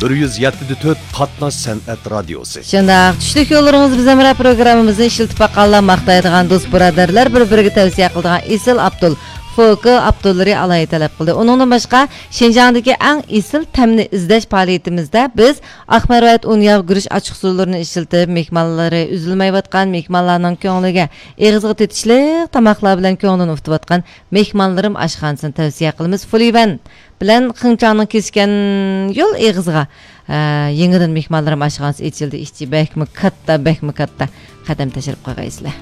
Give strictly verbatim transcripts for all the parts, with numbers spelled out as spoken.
بىر يۈز يەتتە دە تۆت قاتناش سەنئەت رادىيوسى. شۇنداق، چۈشلۈك يوللىرىڭىز بىزەن بىلەن پروگراممىمىزنى ئىشلىتىپ باققانلار ماختايدىغان دوست بۇرادەرلەر بىر-بىرىگە تەۋسىيە قىلىدىغان ئېسىل ئاپتول، فوكو ئاپتوللىرى ئالاھىدە تەلەپ قىلدى. ئۇنىڭدىن باشقا، شىنجاڭدىكى ئەڭ ئېسىل تەمنى ئىزدەش پائالىيىتىمىزدە بىز ئاق مەرۋايىت ئۇن ياغ گۈرۈش ئاچچىقسۇلىرىنى ئىشلىتىپ، مېھمانلىرى ئۈزۈلمەيۋاتقان مېھمانلارنىڭ كۆڭلىگە ئېغىزغا تېتىشلىق تاماقلار بىلەن كۆڭلىنى ئۇتۇۋاتقان مېھمانلىرىم ئاشخانىسىنى تەۋسىيە قىلىمىز. فۇلىۋەن بىلەن خېڭچاڭنىڭ كېسىشكەن يول ئېغىزىغا، ئە، يېڭىدىن مېھمانلىرىم ئاشخانىسى ئېچىلدى. ئىچى بەكمۇ كاتتا، بەكمۇ كاتتا. قەدەم تەشرىپ قويغايسىلەر.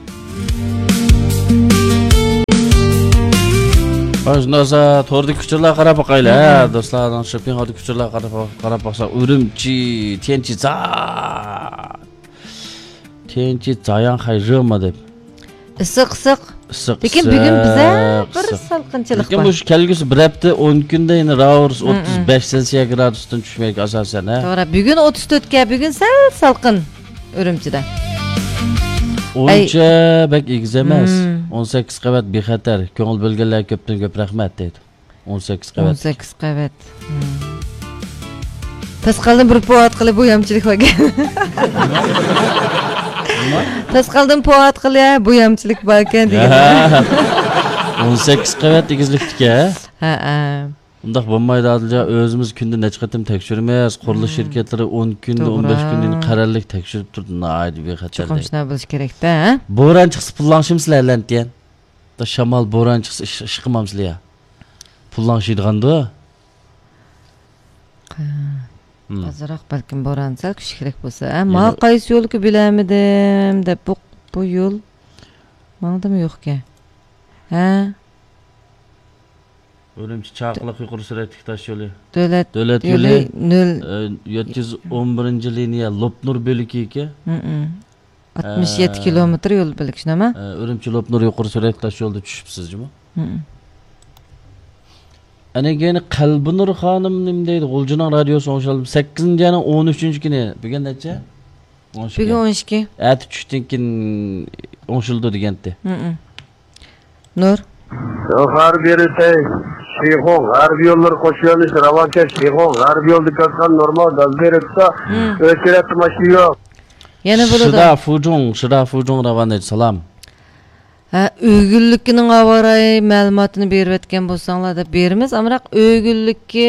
ھە، شۇنداق بولسا، توردىكى ئۇچۇرلارغا قاراپ باقايلى، ھە، مم. دوستلارنىڭ شوپپىڭ ھالدا ئۇچۇرلارغا قاراپ، قاراپ باقساق، ئۈرۈمچى، تيەنچى زا-، تيەنچى زاياڭ خەي ژېما دەپ. ئىسسىق، ئىسسىق. ئىسسىق، لېكىن بۈگۈن بىزە ئىسسىق، بىر ئىسسىق. سالقىنچىلىق لېكىن بار. مۇشۇ كەلگۈسى بىر ھەپتە، ئون كۈندە يەنە راۋۇرس مم، مم. ئوتتۇز بەش سېلسىيە گرادۇستىن چۈشمەيدىكەن ئاساسەن، ھە؟ توغرا، بۈگۈن ئوتتۇز تۆتكە، بۈگۈن سەل سالقىن ئۈرۈمچىدە. ئۇنچە بەك ئېگىز ئەمەس. مم. ئون سەككىز قەۋەت بىخەتەر. كۆڭۈل بۆلگەنلەرگە كۆپتىن كۆپ رەھمەت دەيدۇ. ئون سەككىز قەۋەت. ئون سەككىز قەۋەت. مم. تاسقالدىن بىر پوۋاتقىلى بويامچىلىك باركەن. نېمە؟ تاسقالدىن پوۋاتقىلى بويامچىلىك باركەن دېگەن. ھە. ئون سەككىز قەۋەت ئېگىزلىكتىكەن. ھە، ھە. ئۇنداق بولمايدۇ، ئادىلجان. ئۆزىمىز كۈندە نەچچە قېتىم تەكشۈرىمىز. قۇرۇلۇش مم. شىركەتلىرى ئون كۈندە، ئون بەش توغرا. كۈندە قەرەللىك تەكشۈرۈپ تۇرىدۇ. ناھايىتى بىخەتەر. چوقۇم شۇنداق بولۇشى كېرەكتە، ھە؟ بوران چىقسا پۇللاڭشىمسىلەر، لەنتىيەن؟ شامال، بوران چىقسا ئىش، ئىش قىلمامسىلەر يا؟ پۇللاڭشىيدىغاندۇ؟ ھە. مم. ئازراق بەلكىم بوران سەل كۈچلۈكرەك بولسا. ھە، يەنە ماڭا قايسى يولكا بىلەلمىدىم دەپ، بۇ، بۇ يول ماڭدىمۇ يوقكەن؟ ھە؟ ئۈرۈمچى چاقىلىق يۇقىرى سۈرئەتلىك تاش يولى. دۆلەت دۆلەت يولى يولى نۆل. ئە، يەتتە يۈز ئون بىرىنچى لىنىيە لوپنۇر بۆلىكى ئىكەن. مم. ئاتمىش يەتتە ئە، كىلومېتىر يول بۆلىكى، شۇنداقمۇ؟ ئە، ئۈرۈمچى لوپنۇر يۇقىرى سۈرئەتلىك تاش يولىدا چۈشۈپسىز جۇمۇ. مم. ئەنە كېيىن قەلبىنۇر خانىم نېمە دەيدۇ؟ غۇلجىنىڭ رادىيوسى ئوڭشالدى. سەككىزىنچى ئاينىڭ ئون ئۈچىنچى كۈنى. بۈگۈن نەچچە؟ ئون ئىككى. بۈگۈن ئون ئىككى. ئەتە چۈشتىن كېيىن ئوڭشىلىدۇ دېگەنتى. مم. نۇر. غەربىي رېتەي، شىخۇ غەربىي يوللىرى قوش يۆنىلىش راۋانكەن، شىخۇ غەربىي يولدا كەتكەن نورمال گاز بېرىپتۇ، مم. ئۆچرەتتە ماشىنا يوق. يەنە بولىدۇ. شىدا فۇجۇڭ، شىدا فۇجۇڭ راۋان ئېيتسالام. ھە، ئۆگۈنلۈكىنىڭ ھاۋارايى مەلۇماتىنى بېرىۋەتكەن بولساڭلار دەپ بېرىمىز. ئامراق ئۆگۈنلۈكى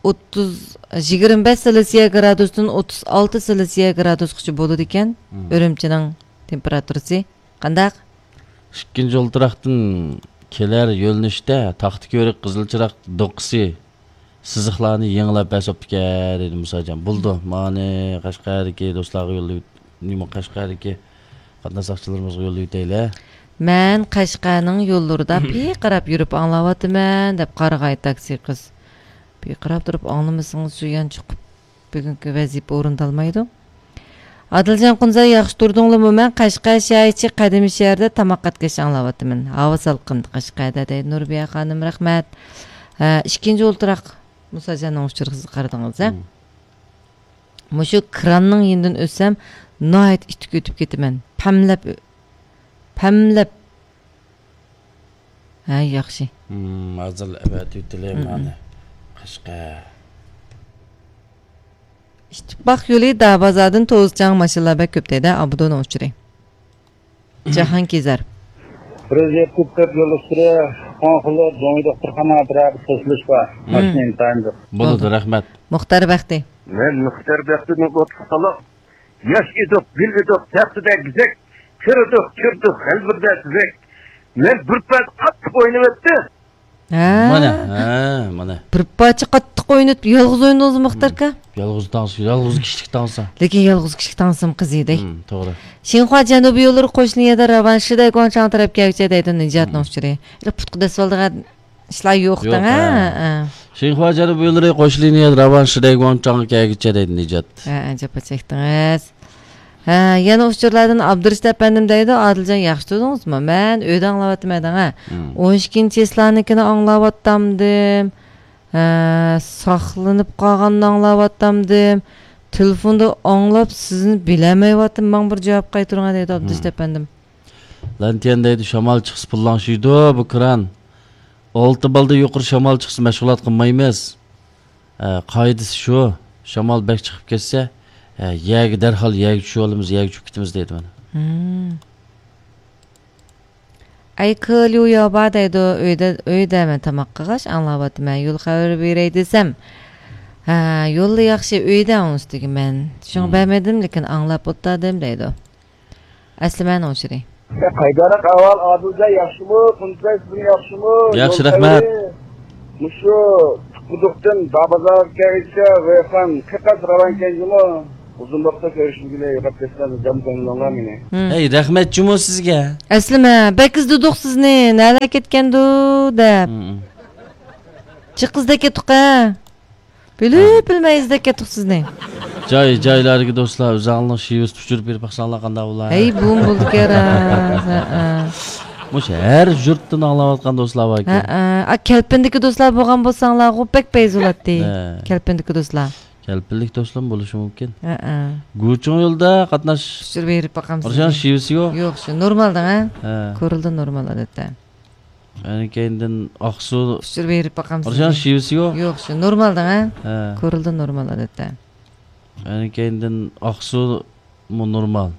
ئوتتۇز، يىگىرمە بەش سېلسىيە گرادۇستىن ئوتتۇز ئالتە سېلسىيە گرادۇسقىچە بولىدىكەن، مم. ئۈرۈمچىنىڭ تېمپېراتۇرىسى. قانداق؟ ئىككىنچى ئولتۇراقتىن كېلەر يۆنىلىشتە تاختا كۆۋرۈك قىزىل چىراغ دوقىسى سىزىقلارنى يېڭىلاپ بەس بوپتىكەن، دېدى مۇساجان. بولىدۇ، مانى قەشقەردىكى دوستلارغا يوللاپ، نېمە، قەشقەردىكى قاتناش ساقچىلىرىمىزغا يوللاۋېتەيلى. مەن قەشقەرنىڭ يوللىرىدا پىقىراپ يۈرۈپ ئاڭلاۋاتىمەن، دەپ قارىغاي تاكسى قىز. پىقىراپ تۇرۇپ ئاڭلىمىسىڭىز، شۇ يان چىقىپ بۈگۈنكى ۋەزىپە ئورۇندالمايدۇ. ئادىلجان قۇنزاي، ياخشى تۇردۇڭلىمۇ؟ مەن قەشقەر شەھەر ئىچى قەدىمىي شەھەردە تاماق ئەتكەچ ئاڭلاۋاتىمەن. ھاۋا سالقىن قەشقەردە، دەيدۇ نۇربىيە خانىم، رەھمەت. ھە، ئىككىنچى ئولتۇراق مۇساجاننىڭ ئۇچۇرىغا سىز قارىدىڭىز، ھە؟ مم. مۇشۇ كراننىڭ يېنىدىن ئۆتسەم، ناھايىتى ئىتتىك ئۆتۈپ كېتىمەن. پەملەپ ئۆ-، پەملەپ. ھە، ياخشى. مم، ھازىر ئەۋەتىۋېتىلى مم. مانى. قەشقەر. ئىتتىپاق يولى دابازاردىن توزچاڭ ماشىنىلار بەك كۆپ دەيدۇ، ئابدۇنىڭ ئۇچۇرى. جاھانكېزەر. بىر يۈز يەتتە تۆت يول ئۈستىدە، قوڭخۇلۇ، جۇڭيى دوختۇرخانا ئەتراپىدا توسۇلۇش بار. مم. ماشىنا ئىنتايىن جىق. بولىدۇ، بولدى. رەھمەت. مۇختەر بەختى. مەن مۇختەر بەختىدىن ئوتلۇق سالاق. ياش ئىدۇق، گۈل ئىدۇق، تەختىدە گۈزەك. كىردۇق، كىردۇق، غەلۋىردە تۈزەك. مەن بىر پەس قاتتىق ئوينىۋەتتى. ھە. مانا، ھە، مانا. بىر پارچە قاتتىق ئوينىتىپ، يالغۇز ئوينىدىڭىزمۇ، مۇختەر ئاكا؟ يالغۇز تاڭسا، يالغۇز كىشىلىك تاڭسا. لېكىن يالغۇز كىشىلىك تاڭسىمۇ قىزىيدۇ. مم، توغرا. شىنخۇا جەنۇبىي يوللىرى قوش لىنىيەدە راۋان شىدەي گۇاڭچاڭ تەرەپكە كەلگۈچە دەيدۇ نىجاتنىڭ مم. ئۇچۇرى. ئېلى پۇتقا دەسسىۋالىدىغان ئىشلار يوق يوق، دەڭ، ھە، ھە. ھە. شىنخۇا جەنۇبىي يوللىرى قوش لىنىيەدە راۋان شىدەي گۇاڭچاڭغا كەلگۈچە دەيدۇ نىجات. ھە، ھە، جاپا چەكتىڭىز. ھە، يەنە ئۇچۇرلاردىن ئابدۇرېشىت ئەپەندىم دەيدۇ، ئادىلجان ياخشى تۇردىڭىزمۇ؟ مەن ئۆيدە ئاڭلاۋاتىمەن دەڭە. مم. ئون ئىككىنچى چىسلانىڭكىنى ئاڭلاۋاتامدىم. ھە، ساقلىنىپ قالغاننى ئاڭلاۋاتامدىم. تېلېفوندا ئاڭلاپ سىزنى بىلەلمەيۋاتىمەن، ماڭا بىر جاۋاب قايتۇرۇڭ دەيدۇ ئابدۇرېشىت مم. ئەپەندىم. لەنتىيەن دەيدۇ، شامال چىقسا پۇللاڭشىيدۇ بۇ كران. ئالتە بالدىن يۇقىرى شامال چىقسا مەشغۇلات قىلمايمىز. ھە، قائىدىسى شۇ. شامال بەك چىقىپ كەتسە، ھە، يەرگە دەرھال يەرگە چۈشۈۋالىمىز، يەرگە چۈشۈپ كېتىمىز دەيدۇ مانا. ھىم. ئەي، كېليۇ ياۋبا دەيدۇ، ئۆيدە، ئۆيدە مەن تاماق قىلغاچ ئاڭلاۋاتىمەن، يول خەۋىرى بېرەي دېسەم، ھە، يوللا ياخشى، ئۆيدە ئۇنىڭ ئۈستىگە مەن. شۇڭا ھىم. بەرمىدىم، لېكىن ئاڭلاپ ئولتۇردۇم دەيدۇ. ئەسلىمەنىڭ ئۇچۇرى. قايداراق ئەھۋال ئادىلجان، ياخشىمۇ؟ قۇنتاي، سىزمۇ ياخشىمۇ؟ ياخشى، يول رەھمەت. خەۋىرى؟ مۇشۇ قۇدۇقتىن دابازارغا كەلگۈچە ۋېيخان قەقەس راۋانكەن جۇمۇ. ئۇزۇن ۋاقىتتا كۆرۈشمىگىلى، يوقاپ كەتسەم، جان كۆڭلۈڭلار مېنى. ھىم. ھەي، رەھمەت جۇمۇ سىزگە. ئەسلىمە، بەك ئىزدىدۇق سىزنى، نەلەر كەتكەندۇ دەپ. ھىم. جىق ئىزدەپ كەتتۇق ھە. بىلىپ ھە. بىلمەي ئىزدەپ كەتتۇق سىزنى. جاي، جايلاردىكى دوستلار، ئۆزۈڭلارنىڭ شېۋىسىنى ئۇچۇرۇپ بېرىپ باقساڭلار قانداق بولار؟ ھەي، بۇمۇ بولدىكەن راست. ھەئە. مۇشۇ ھەر يۇرتتىن ئاڭلاۋاتقان دوستلار باركەن. ھەئە. ئا، كەلپىندىكى دوستلار بولغان بولساڭلارغۇ بەك پەيز بولاتتى. ھە. كەلپىندىكى دوستلار. كەلپىنلىك دوستلارمۇ بولۇشى مۇمكىن. ھەئە. گۇچۇڭ يولدا قاتناش. ئۇچۇر بېرىپ باقامسىز؟ ئۇرۇشان شېۋىسى يوق. يوق، شۇ نورمالدىڭ ھە؟ ھە. كورلىدا نورمال ئادەتتە. ئەنە كەينىدىن ئاقسۇ. ئۇچۇر بېرىپ باقامسىز؟ ئۇرۇشان شېۋىسى يوق. يوق، شۇ نورمالدىڭ ھە؟ ھە. كورلىدا نورمال ئادەتتە. ئەنە كەينىدىن ئاقسۇمۇ نورمال.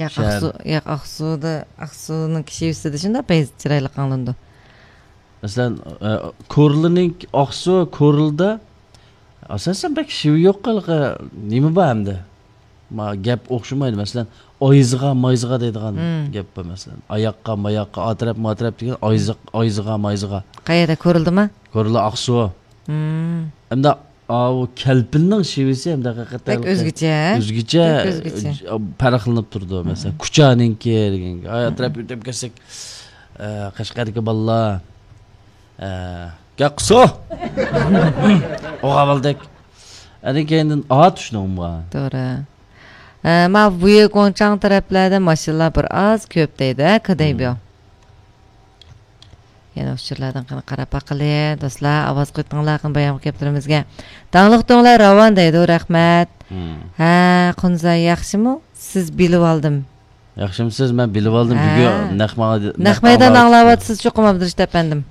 ياق، شەھەر. ئاقسۇ، ياق، ئاقسۇدا، ئاقسۇنىڭ شېۋىسىدا شۇنداق پەيز چىرايلىق ئاڭلىنىدۇ. مەسىلەن، ئە، كورلىنىڭ ئاقسۇ، كورلىدا ئاساسەن بەك شېۋە يوق، ھېلىقى نېمە بار ئەمدى؟ ما، گەپ ئوخشىمايدۇ. مەسىلەن، ئايزىغا، مايزىغا دەيدىغان مم. گەپ بار، مەسىلەن. ئاياققا، ماياققا، ئاتەرەپ، ماتەرەپ دېگەن ئايزىق-، ئايزىغا، مايزىغا. قەيەردە، كورلىدىما؟ كورلا ئاقسۇ. مم. ئەمدى ئاۋۇ كەلپىننىڭ شېۋىسى ھەم ھەقىقەتەن بەك ئۆزگىچە. ئۆزگىچە، بەك ئۆزگىچە. ئە، پەرقلىنىپ تۇرىدۇ. مەسىلەن، مم. كۇچانىڭكى دېگەن. ئاي، ئەتراپ ئۆتۈپ كەتسەك، ئە، قەشقەردىكى بالىلار، ئە، گەقسۇ! ئوغا بالدەك. ئەنە كەينىدىن ئا چۈشنىڭمۇ؟ توغرا. ئە، ما ۋۇيې گۇڭچاڭ تەرەپلەردە ماشىنىلار بىر ئاز كۆپ دەيدۇ، ھە، كېدەيبيو. مم. يەنە ئۇچۇرلاردىن قېنى قاراپ باقىلى، دوستلار، ئاۋاز قويۇپ تىڭلاڭ قېنى بايامقى گەپلىرىمىزگە. داڭلىق دۆڭلەر راۋان دەيدۇ، رەھمەت. مم. ھە، قۇنزاي ياخشىمۇ؟ سىز بىلىۋالدىم. ياخشىمۇسىز؟ مەن بىلىۋالدىم، ھە. بۈگۈن نەق ماڭا، نەق نەق مەيداندا ئاڭلاۋاتىسىز چوقۇم، ئابدۇرېشىت ئەپەندىم.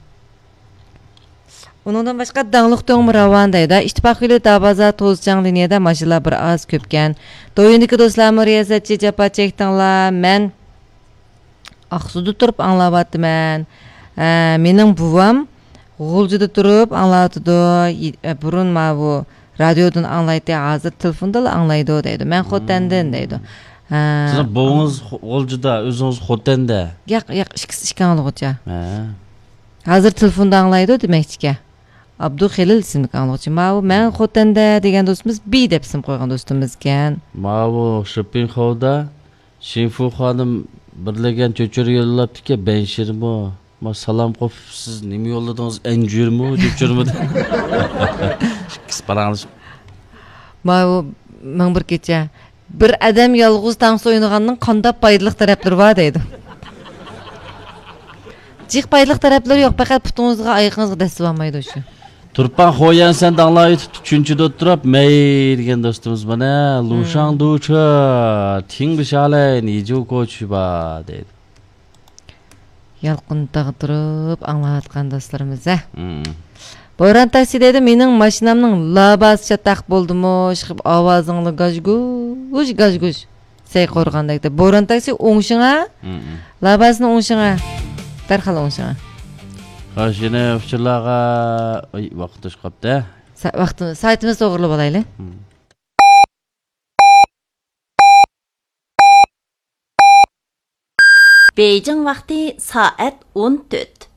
ئۇنىڭدىن باشقا داڭلىق دۆڭمۇ راۋان دەيدۇ. ئىتتىپاق يولى دابازا توزچاڭ لىنىيەدە ماشىنىلار بىر ئاز كۆپكەن. دويىندىكى دوستلارمۇ رىياسەتچى جاپا چەكتىڭلار. مەن ئاقسۇدا تۇرۇپ ئاڭلاۋاتىمەن. ئە، مېنىڭ بوۋام غۇلجىدا تۇرۇپ ئاڭلاۋاتىدۇ. يى-، ئە، بۇرۇن ماۋۇ رادىيودىن ئاڭلايتتى، ھازىر تېلېفوندىلا ئاڭلايدۇ دەيدۇ. مەن خوتەندىن دەيدۇ. ھە. سىزنىڭ بوۋىڭىز خو-، غۇلجىدا، ئۆزىڭىز خوتەندە؟ ياق، ياق، ئىككىسى ئىككى ئاڭلىغۇچى. ھە. ھازىر تېلېفوندا ئاڭلايدۇ دېمەكچىكەن. ئابدۇخېلىل ئىسىملىك ئاڭلىغۇچى. ماۋۇ مەن خوتەندە دېگەن دوستىمىز بى دەپ ئىسىم قويغان دوستىمىزكەن. ماۋۇ شىپىنخودا شىنفۇ خانىم بىرلىگەن چۆچۈرە يوللاپتىكەن، بەنشىرمۇ. ما سالام قوپۇپ، سىز نېمە يوللىدىڭىز؟ ئەنجۈرمۇ، چۆچۈرىمۇ؟ ئىككىسى پاراڭلىشىپ. ماۋۇ مىڭ بىر كېچە. بىر ئادەم يالغۇز تانسا ئوينىغاننىڭ قانداق پايدىلىق تەرەپلىرى بار دەيدۇ. جىق پايدىلىق تەرەپلىرى يوق، پەقەت پۇتىڭىزغا، ئايىقىڭىزغا دەسسىۋالمايدۇ شۇ. تۇرپان خويەن سەن داڭلايتىپ چۈنچىدە ئولتۇراپ مەي دېگەن دوستىمىز مانا، مم. لۇشاڭ دوچى، تىڭ بىشالەي، نىجۇ كوچى بار دەيدۇ. يالقۇنتاغدا تۇرۇپ ئاڭلاۋاتقان دوستلىرىمىز ھە. مم. بوران تاكسى دەيدۇ، مېنىڭ ماشىنامنىڭ لاباسى چاتاق بولدىمۇ، ئىشقىلىپ ئاۋازىڭلار گاژگۇژ، گاژگۇژ. سەي قورغاندەك دەپ. بوران تاكسى ئوڭشىڭا، مم. لاباسىنى ئوڭشىڭا. دەرھال ئوڭشىڭا. خوش، يەنە ئۇچۇرلارغا، ئاي، ۋاقىت توشۇپ قاپتۇ. سا-، ۋاقتىمىز، سائىتىمىزنى توغرىلىۋالايلى. مم. بېيجىڭ ۋاقتى سائەت ئون تۆت.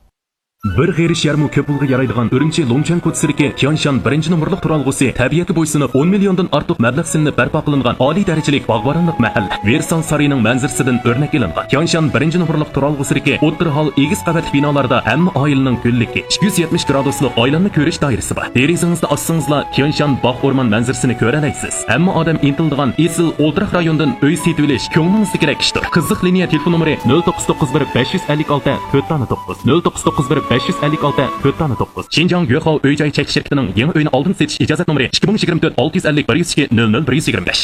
بىر غېرىش يەرمۇ كۆپ پۇلغا يارايدىغان ئۈرۈمچى لۇڭچۈەن كوچىسىدىكى تيانشان بىرىنچى نومۇرلۇق تۇرالغۇسى تەبىئەتكە بويسۇنۇپ، ئون مىليوندىن ئارتۇق مەبلەغ سېلىنىپ بەرپا قىلىنغان ئالىي دەرىجىلىك باغۋەنلىك مەھەللە. ۋېرسال سارىيىنىڭ مەنزىرىسىدىن ئۆرنەك ئېلىنغان. تيانشان بىرىنچى نومۇرلۇق تۇرالغۇسىدىكى ئوتتۇرا ھال ئېگىز قەۋەتلىك بىنالاردا ھەممە ئائىلىنىڭ گۈللۈكى، ئىككى يۈز يەتمىش گرادۇسلۇق ئايلانما كۆرۈش دائىرىسى بار. دېرىزىڭىزنى ئاچسىڭىزلا، تيانشان باغ ئورمان مەنزىرىسىنى كۆرەلەيسىز. ھەممە ئادەم ئىنتىلىدىغان ئېسىل ئولتۇراق رايوندىن ئۆي سېتىۋېلىش كۆڭلىڭىزدىكىدەك ئىشتۇر. قىزىق لىنىيە تېلېفون نومۇرى نۆل توققۇز توققۇز بىر بەش يۈز ئەللىك ئالتە تۆت دانە توققۇز، نۆل توققۇز توققۇز بىر بەش يۈز ئەللىك ئالتە تۆت دانە توققۇز. شىنجاڭ يۆخاۋ ئۆي جاي چەكلىك شىركىتىنىڭ يېڭى ئۆينى ئالدىن سېتىش ئىجازەت نومۇرى ئىككى مىڭ يىگىرمە تۆت ئالتە يۈز ئەللىك بىر يۈز ئىككى نۆل نۆل بىر يۈز يىگىرمە بەش.